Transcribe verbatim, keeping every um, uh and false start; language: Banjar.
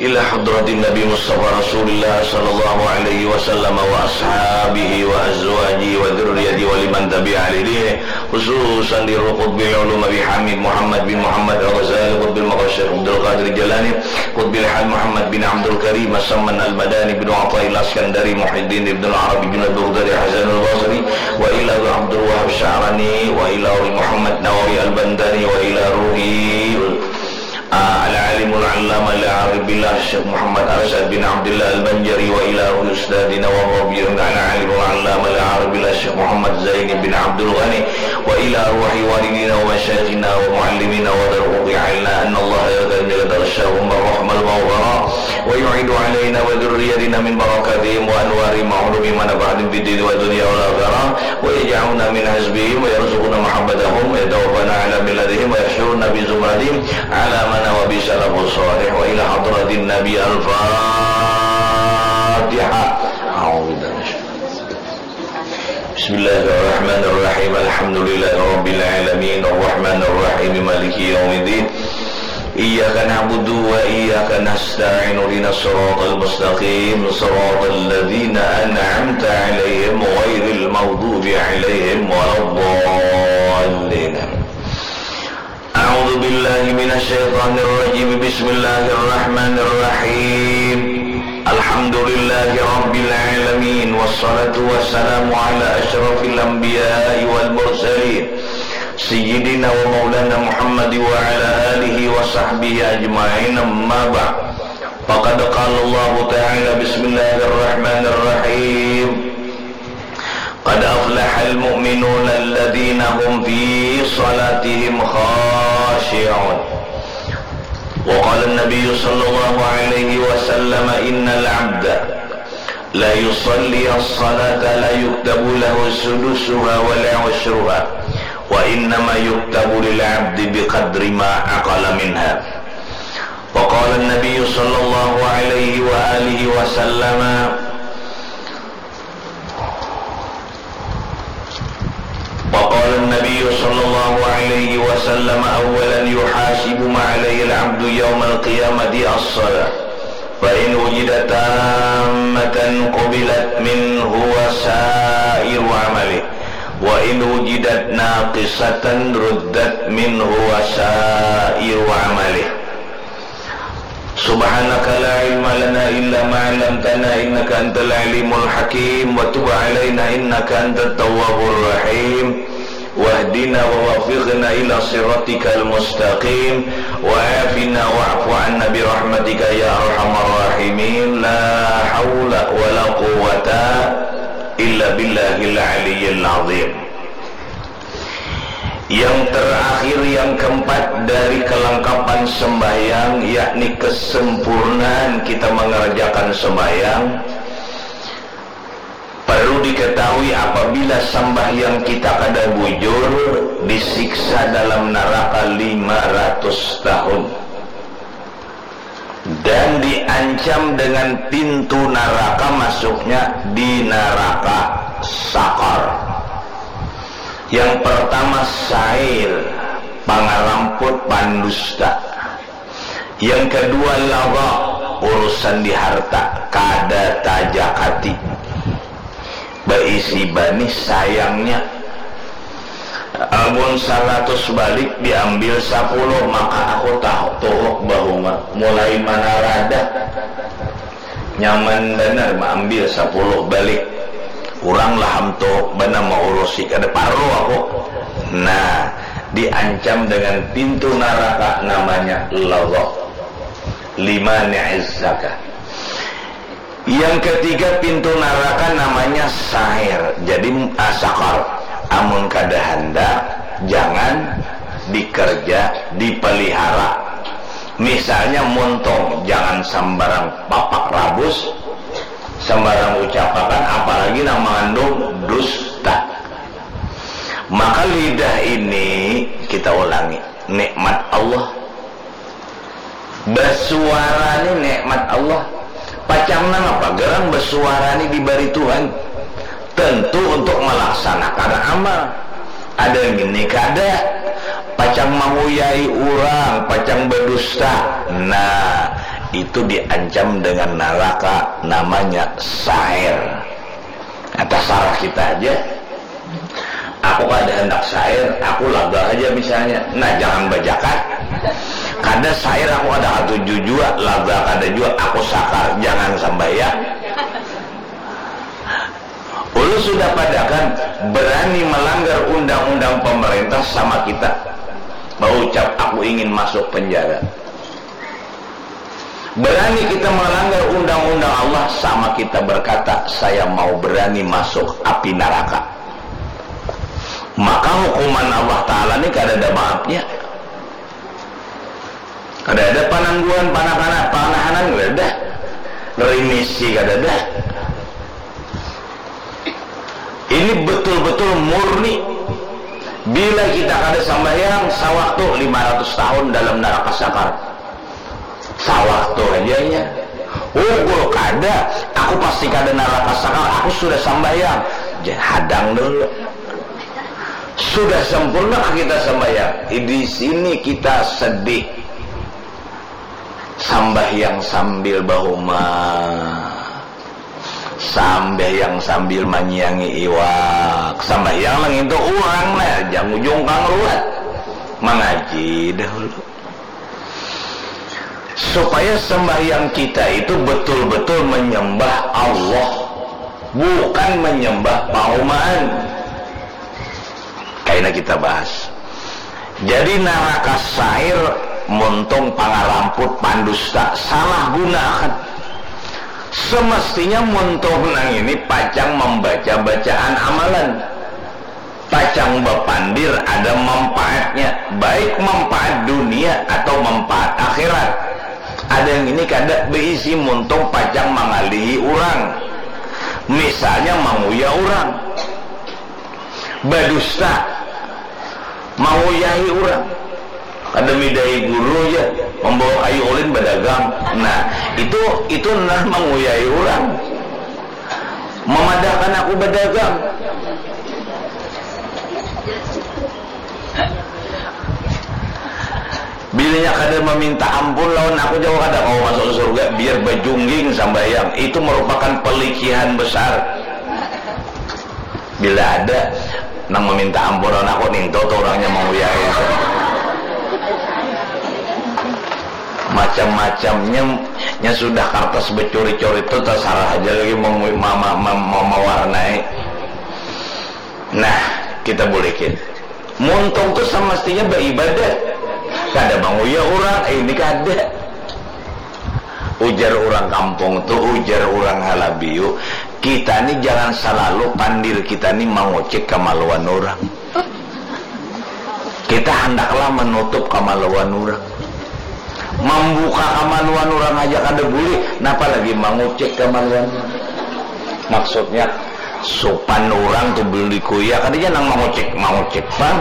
Ila hadratin Nabi Mustafa Rasulillah sallallahu alaihi wasallam wa ashabihi wa azwajihi wa dzurriyyatihi wa liman tabi'a ala dinihi, khususan di Qutbil Ulum Abi Hamid Muhammad bin Muhammad Al-Ghazali, Qutbil Maqam Syekh Abdul Qadir Jalani, Qutbil Hal Muhammad bin Abdul Karim As-Samman Al-Madani bin Athaillah Iskandari, Muhyiddin Ibn Arabi Junaid Baghdadi Hasan Al-Basri, wa ila Abdul Wahab Sya'rani, wa ila Muhammad Nawawi Al-Bantani, wa ila ruhi Al-Alimul Allamah Al-Arif Billah Syekh Muhammad Arsyad bin Abdullah Al-Banjari, wa ila ruhi Ustadzina wa Murabbina Al-Alimul Allamah Al-Arif Billah Syekh Muhammad Zaini bin Abdul Ghani, wa ila ruhi walidina wa masyayikhina wa muallimina wa darul uqi alaina anna Allah ya karim ya taghashahum rahmal maghfirah wa yu'idu alaina wa dzurriyyatina min barakatihim wa anwari ma'lumi manafa'atin fid dini wa dunya wal akhirah wa yaj'alna min hasbihim wa yarzuqna mahabbatahum wa yatawaffana ala millatihim wa yahsyurna bi zumratihim ala mana wa bi salafus salih wa ila hadratin Nabi. Al-Fatihah. A'udzu billahi minasyaitonir rajim. Bismillahirrahmanirrahim. Alhamdulillahirabbil alamin. Arrahmanirrahim. Maliki yaumiddin. Iyyaka na'budu wa iyyaka nasta'in. Ihdinas siratal mustaqim. Siratal ladzina an'amta 'alaihim ghairil maghdubi 'alaihim waladdallin. A'udzu billahi minasy syaithanir rajim. Bismillahirrahmanirrahim. Alhamdulillahi rabbil alamin. Wassalatu wassalamu ala asyrafil anbiya'i wal mursalin. Sayyidina wa maulana Muhammad wa ala alihi wa sahbihi ajma'in. Amma ba'd. Faqad qala Allahu ta'ala, bismillahirrahmanirrahim. Qad aflahal mu'minuna alladzina hum fi salatihim khashi'un. Wa qala an-nabiyyu sallallahu alaihi wasallam, innal 'abda la yusalli as-salata la yuktabu lahu sudusuha wa la 'ushruha, wa innama yuktabu lil 'abdi biqadri ma aqala minha. Wa qala an-nabiyyu sallallahu alaihi wa alihi wasallam, Wa qala an-nabiyyu sallallahu alaihi wasallam, awwalan yuhasabu ma alaihil abdu yaumal qiyamati as-salah. Fa in wujidat tammatan qubilat minhu wa sa'iru amalih. Wa in wujidat naqisatan ruddat minhu wa sa'iru amalih. Subhanaka la ilma lana illa ma 'allamtana innaka antal alimul hakim wa tub 'alaina innaka antat tawwabur rahim. Wahdina wa waffiqna ila siratikal mustaqim wa 'afina wa'fu 'anna bi rahmatika ya arhamar rahimin. La haula wa la quwwata illa billahil aliyyil azim. Yang terakhir, yang keempat dari kelengkapan sembahyang, yakni kesempurnaan kita mengerjakan sembahyang, perlu diketahui apabila sembahyang kita kada bujur, disiksa dalam neraka lima ratus tahun. Dan diancam dengan pintu neraka masuknya di neraka Sakar. Yang pertama, sair, pangaramput, pandusta. Yang kedua, lawa, urusan di harta, kada tajakati. Baisi banih sayangnya. Amun saratus balik diambil sapuluh, maka aku tahu tuhuk bahuma mulai manarada. Nyaman banar maambil sapuluh balik. Urang laham tuhuk banar maurusi, kada parlu aku. Nah, diancam dengan pintu naraka namanya lawa. Lima ni'izzaka. Yang ketiga, pintu naraka namanya sair. Jadi, ah, sakar. Amun kada handak, jangan dikerja, dipelihara. Misalnya muntung, jangan sambarang papak rabus, sambarang ucapakan, apalagi nang mengandung dusta. Maka lidah ini, kita ulangi, nikmat Allah. Basuara ni nikmat Allah. Pacang nangapa garang basuara ni dibari Tuhan? Tentu untuk melaksanakan amal. Ada ngini kada? Pacang manguyai urang, pacang badusta. Nah, itu diancam dengan naraka namanya sa'ir. Nah, tasarah kita aja. Aku kada handak sa'ir, aku laga aja misalnya. Nah, jangan bajakat. Kada sa'ir aku kada katuju jua, laga kada jua, aku sakar, jangan sambahyang. Ulun sudah padakan, berani melanggar undang-undang pemerintah sama kita baucap, "Aku ingin masuk penjara." Berani kita melanggar undang-undang Allah sama kita berkata, "Saya mau berani masuk api neraka." Maka hukuman Allah Ta'ala ni kada ada maafnya. Kada ada panangguhan, panakanan, panahanan, kada ada. Remisi kada ada. Ini betul-betul murni. Bila kita kada sambahyang, sawaktu lima ratus tahun dalam naraka sakar. Sawaktu aja ya. Unggul kada, aku pasti kada naraka sakar, aku sudah sambahyang. Jangan hadang dulu. Sudah sempurna kita sambahyang? Di sini kita sedih. Sambahyang sambil bahuma. Sambahyang sambil manyiangi iwak. Sambahyang nang itu urang nah, jangan ujung kang ruat. Mangaji dahulu. Supaya sembahyang kita itu betul-betul menyembah Allah, bukan menyembah paumaan. Kaina kita bahas. Jadi naraka sair muntung pangaramput, pandusta, salah gunaakan. Semestinya muntung nang ini pacang membaca bacaan amalan. Pacang bapandir ada manfaatnya, baik manfaat dunia atau manfaat akhirat. Ada yang ini kada beisi muntung pacang mangalihi urang. Misalnya manguya urang. Badusta. Manguyahi urang. Kada midahi guru ja, membawa kayu ulin badagang. Nah, itu, itu nah manguyahi urang. Memadahkan aku badagang. Bilanya kada meminta ampun lawan aku, jauh kada kawa masuk surga, biar bajungging sambahyang. Itu merupakan pelicihan besar. Bila ada nang meminta ampun lawan aku, ninto tu urangnya manguyai. Macam-macamnya, nya sudah kartas becuri-curi tu, tasarah aja lagi memu-, ma-, ma-, ma-, ma-, mawarnai. Nah, kita bulikin. Muntung tu semestinya baibadah. Kada manguya urang, eh, ini kada. Ujar urang kampung tu, ujar urang Halabiu, kita ni jangan salalu pandir kita ni mangucik kamaluan urang. Kita handaklah menutup kamaluan urang. Mambuka kamaluan urang haja kada bulih, napa lagi mangucik kamaluan urang. Maksudnya, supan urang tu belum dikuya, kada ja nang mangucik, mangucik pang.